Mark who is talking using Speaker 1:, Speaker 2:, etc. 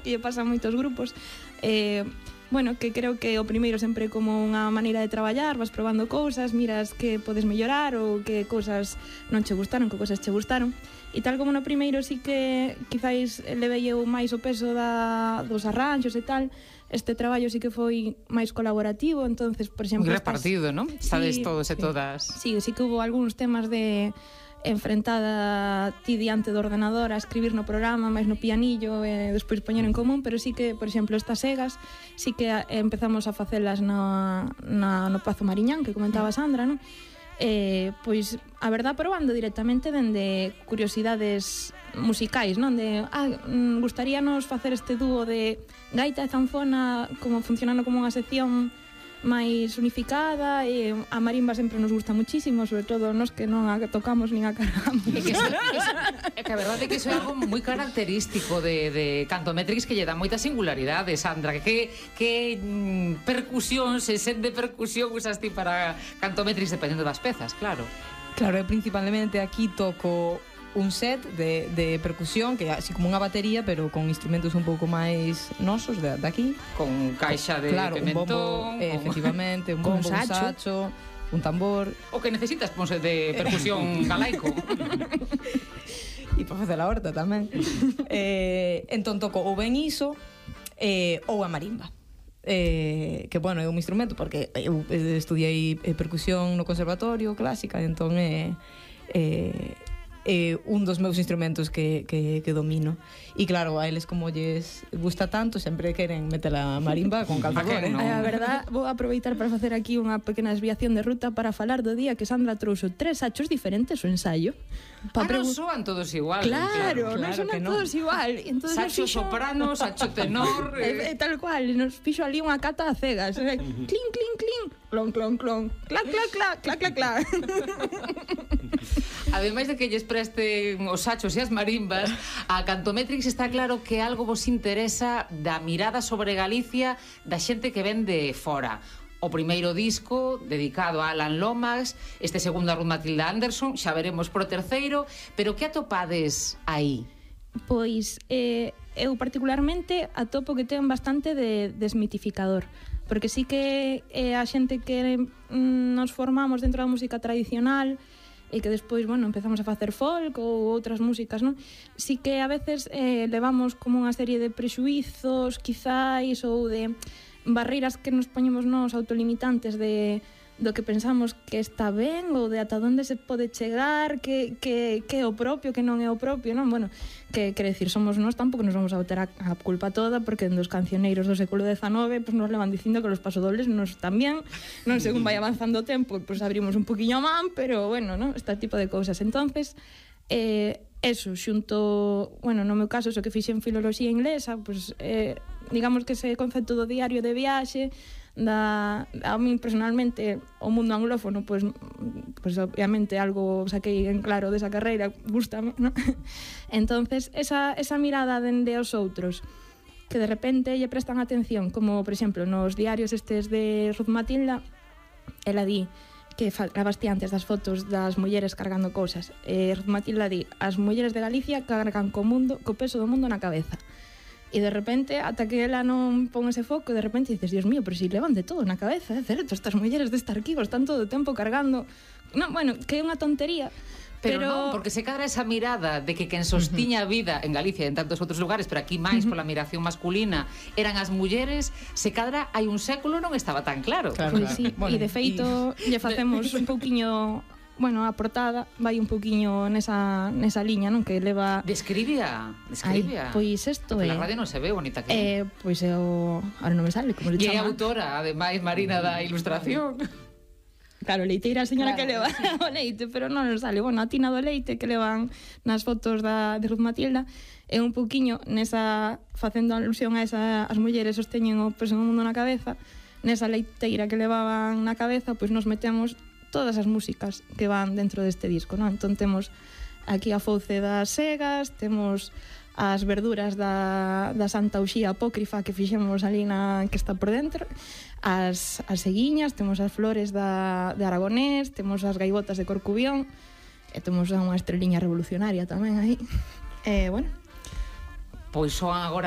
Speaker 1: que lle pasa a moitos grupos. Bueno, que creo que o primeiro sempre como unha maneira de traballar, vas probando cousas, miras que podes mellorar ou que cousas non che gustaron, que cousas che gustaron. E tal como no primeiro sí que quizáis levei eu máis o peso dos arranxos e tal, este traballo sí que foi máis colaborativo, entonces, por exemplo...
Speaker 2: Moi repartido, non? Estades todos e todas...
Speaker 1: Sí, sí que hubo algúns temas de enfrentada ti diante do ordenador a escribir no programa, máis no pianillo e despois poñer en común, pero sí que, por exemplo, estas segas sí que empezamos a facelas no Pazo Mariñán, que comentaba Sandra, non? Pois, a verdad, probando directamente dende curiosidades musicais, non? De, gustaríanos facer este dúo de gaita e zanfona como funcionando como unha sección máis unificada, e a marimba sempre nos gusta muchísimo, sobre todo nos que non a tocamos nin a cargamos.
Speaker 2: É que a verdade é que iso é algo moi característico de Cantometrix, que lle dá moita singularidade, Sandra. Que percusión, se sente percusión usas ti para Cantometrix dependendo das pezas, claro.
Speaker 3: Claro, e principalmente aquí toco un set de percusión que é así como unha batería, pero con instrumentos un pouco máis nosos de aquí,
Speaker 2: con caixa de pimentón,
Speaker 3: un bombo, efectivamente, un bombo, un sacho, un tambor.
Speaker 2: O que necesitas, ponse de percusión galaico.
Speaker 3: E para facer a horta tamén. Entón toco ou ben iso ou a marimba. Que, bueno, é un instrumento porque eu estudiei percusión no conservatorio clásica, entón un dos meus instrumentos que domino. E claro, a eles como lles gusta tanto, sempre queren meter a marimba con calzador,
Speaker 1: no? A verdad, vou aproveitar para facer aquí unha pequena desviación de ruta para falar do día que Sandra trouxo 3 sachos diferentes o ensayo.
Speaker 2: Non soan todos igual.
Speaker 1: Claro, non soan todos igual.
Speaker 2: Sacho soprano, sacho tenor...
Speaker 1: Tal cual, nos fixo ali unha cata a cegas. Clink, clink, clink, clon, clon, clon, clac, clac, clac, clac, clac, clac.
Speaker 2: Ademais de que lles presten os sachos e as marimbas, a Cantometrix está claro que algo vos interesa da mirada sobre Galicia da xente que ven de fora. O primeiro disco dedicado a Alan Lomax, este segundo a Ruth Matilda Anderson, xa veremos pro terceiro, pero que atopades aí?
Speaker 1: Pois eu particularmente atopo que ten bastante de desmitificador, porque sí que a xente que nos formamos dentro da música tradicional e que despois, bueno, empezamos a facer folk ou outras músicas, non? Sí que a veces levamos como unha serie de prexuizos, quizáis, ou de barreiras que nos poñemos nos autolimitantes do que pensamos que está ben ou de ata onde se pode chegar, que é o propio, que non é o propio, non? Bueno, que quere decir, somos nós, tampouco nos vamos a botar a culpa toda, porque dos cancioneiros do século XIX pues nos levan dicindo que los pasodobles nos están bien, non? Según vai avanzando o tempo, pues abrimos un poquinho a man, pero bueno, ¿no? Este tipo de cousas. Entonces, eso, xunto, bueno, no meu caso, eso que fixen filoloxía inglesa, pues digamos que ese concepto do diario de viaxe, a mí personalmente o mundo anglófono pues obviamente algo saquei en claro desa carreira, gústame, ¿no? Entonces esa mirada dende os outros que de repente lle prestan atención, como por exemplo nos diarios estes de Ruth Matilda, ela di que falabas ti antes das fotos das mulleres cargando cousas, Ruth Matilda di, as mulleres de Galicia cargan co peso do mundo na cabeza. E de repente, ata que ela non pon ese foco, de repente dices, Dios mío, pero si levan de todo na cabeza, é certo, estas mulleres deste arquivo están todo o tempo cargando. Non, bueno, que é unha tontería.
Speaker 2: Pero non, porque se cadra esa mirada de que quen sostiña a vida en Galicia e en tantos outros lugares, pero aquí máis pola miración masculina, eran as mulleres, se cadra hai un século non estaba tan claro.
Speaker 1: Pois sí, e de feito lle facemos un pouquiño... Bueno, a portada vai un poquinho nesa liña, non? Que leva...
Speaker 2: Describia.
Speaker 1: Pois isto é...
Speaker 2: Na radio non se ve bonita que
Speaker 1: pois é o... Ahora non me sale como le chama.
Speaker 2: E é autora, ademais, Marina, da ilustración.
Speaker 1: Claro, leiteira a señora que leva o leite, pero non nos sale. Bueno, a tina do leite que levan nas fotos de Ruth Matilda é un poquinho nesa... facendo alusión a as mulleres sosteñen o peso do mundo na cabeza, nesa leiteira que levaban na cabeza, pois nos metemos todas as músicas que van dentro deste disco, non? Entón temos aquí a fouce das segas, temos as verduras da Santa Uxía apócrifa que fixemos ali que está por dentro, as seguiñas, temos as flores de Aragonés, temos as gaivotas de Corcubión, e temos unha estreliña revolucionaria tamén aí. Bueno.
Speaker 2: Pois son agora